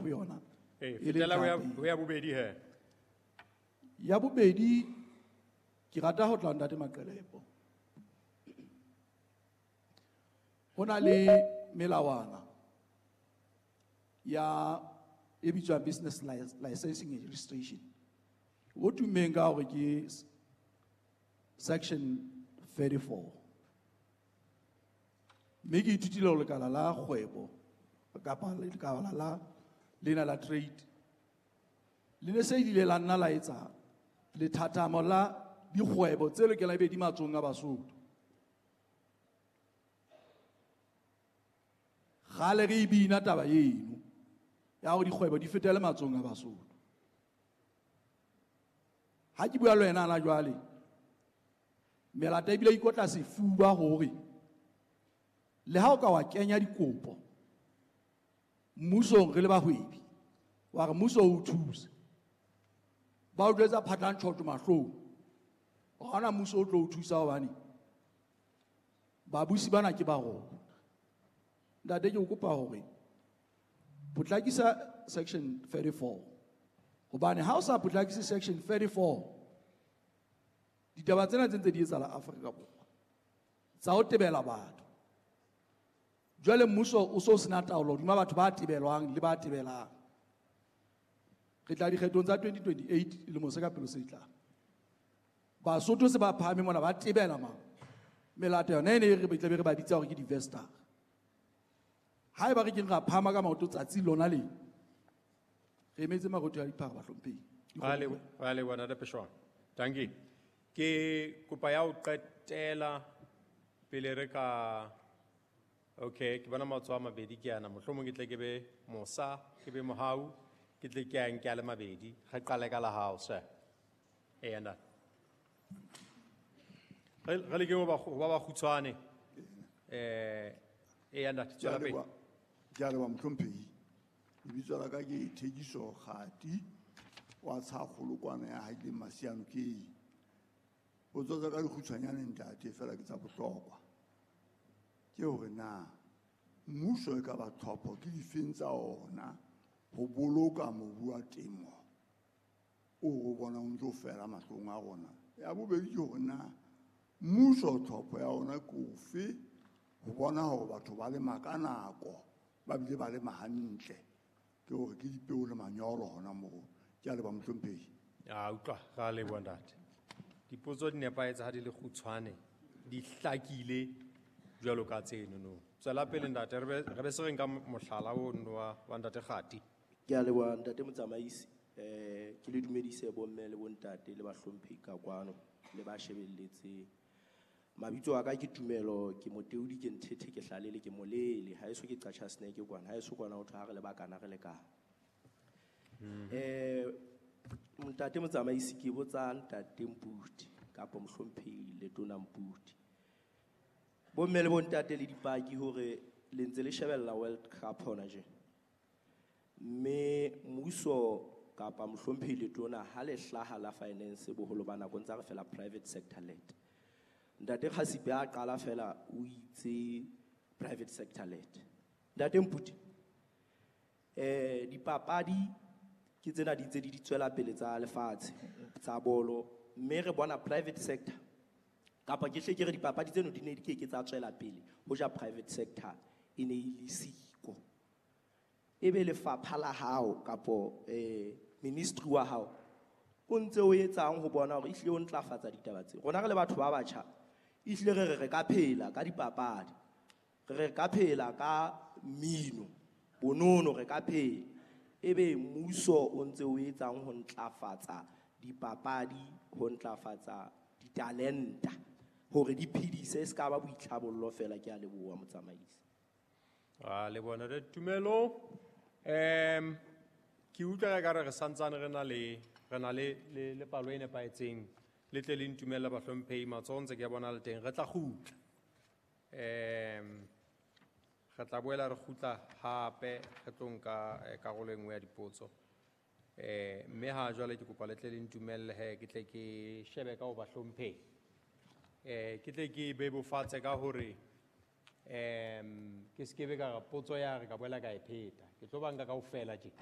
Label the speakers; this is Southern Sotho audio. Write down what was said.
Speaker 1: ho yona.
Speaker 2: Ee,
Speaker 1: E le
Speaker 2: fetela ho ya-
Speaker 1: ntlha ya pele.
Speaker 2: ho ya bobedi he.
Speaker 1: Ya bobedi, ke rata ho tla ho Ntate Maqelepo. Ho na le melawana ya e bitswang business licensing and registration. O tummeng ka hore ke section 34. Mme ke ithutile hore lekala la kgwebo kapa lekala la lena la trade le ne se ile la nna la etsa lethathamo la dikgwebo tse lokelang ebe di matsohong a Basotho. Kgale re e bina taba eno ya hore dikgwebo di fetele matsohong a Basotho. Ha ke bua le wena hana jwale, melata ebile e ikotla sefuba hore le ha o ka wa kenya dikopo mmusong re le bahwebi, wa re mmuso o thuse, ba o jwetsa phatlantjhotjo mahlong, ha hona mmuso o tlo o thusa hobane babusi bana ke ba rona. Ntate, ke o kopa hore potlakisa section 34, hobane ha o sa potlakise section 34, ditaba tsena tse ntse di etsahala Afrika Borwa tsa ho tebela batho. Jwale mmuso o so sena taolo hodima batho ba tebelwang le ba tebelang. Re tla dikgethong tsa 2028 lemo se ka pele se tlang. Basotho se ba phahame mona ba tebela mang. Melato yona e ne e re tla be re ba bitsa hore ke di-vestar. Haeba re keng ra phahama ka maoto tsatsi lona le, re emetse marotho a diphara bahlomphehi.
Speaker 2: Ra leboha Ntate Pheshwana. Dankie. Ke kopa ya ho qetela pele re ka, okay, ke bona matsoho a mabedi ke ana. Mohlomong ke tle ke be mosa, ke be mohau, ke tle ke a nke a le mabedi. Re qale ka la hao, sir. Eya, ntate. Re lekeng ho ba bakgutshwane. Eya, ntate, tswela pele.
Speaker 3: Ke a leboha, mohlomphehi. Lebitso la ka ke Thekiso Kgati wa Tshakgolokwana ya Haileng Masiano ke. Potso tsa ka di kgutshwanyane ntate, fela ke tsa bohlokwa. Ke hore na mmuso e ka ba tlhopho ke difeng tsa ona ho boloka mobu wa temo o re bonang o ntso fela mahlong a rona. Ya bobedi ke hore na mmuso tlhopho ya ona ke ofe ho bona hore batho ba lema ka nako, ba bile ba lema hantle. Ke hore ke dipeo le manyolo hona moo. Ke a leboha mohlomphehi.
Speaker 2: A utlwa, ra leboha ntate. Dipotso di nepahetse ha di le kgutshwane, di hlakile jwalo ka tseno no. Tswela pele ntate, re be se re nka mohlala ono wa ntate Kgati.
Speaker 4: Ke a leboha ntate motsamaisi. Ke le dumedise bomme le bontate le bahlomphehi ka kwano le ba shebelletseng. Mabitso a ka ke Tumelo, ke Moteodi, ke Nthethe, ke Hlalele, ke Molele. Ha eso ke Qacha Snake kwana, ha eso kwana ho thwe ha re le bakana re lekana. Ntate motsamaisi, ke botsa ntate Mputi kapa mohlomphehi Letona Mputi. Bomme le bontate le dipaki hore le ntse le shebella World Cup hona tje. Mme mmuso kapa mohlomphehi Letona ha le hlaha la finance boholo ba nako ntse re fela private sector led. Ntate Kgasipe a qala fela o itse private sector led. Ntate Mputi, dipapadi ke tsena di ntse di tswela pele tsa lefatshe tsa bolo, mme re bona private sector kapa ke hle ke re dipapadi tseno di ne di ke ke tsa tswela pele hoja private sector e ne e le siko. Ebe lefapha la hao kapo ministry wa hao o ntse o etsang ho bona hore ehlile o ntlafatsa ditaba tse. Rona re le batho ba batjha, ehlile re re re ka phela ka dipapadi, re re ka phela ka mmino, bonono re ka phela. Ebe mmuso o ntse o etsang ho ntlafatsa dipapadi, ho ntlafatsa ditalenta hore di phedise, e se ka ba boitlhabollo fela. Ke a leboha motsamaisi.
Speaker 2: A le bona re Tumelo. Ke utlwa ka re re santsane re na le, re na le, le, le palo e nepahetseng. Le tle le ntumelle bahlomphehi, matsoho ntse ke a bona le teng. Re tla kgutla. Re tla boela re kgutla hape, re tlo nka karolo e nngwe ya dipotso. Mme ha jwale ke kopa le tle le ntumelle he, ke tle ke shebe ka ho bahlomphehi. Ke tle ke bebofatse ka hore, ke se ke be ka re potso ya re ka boela ka e pheta. Ke tlo ba nka kaofela tje.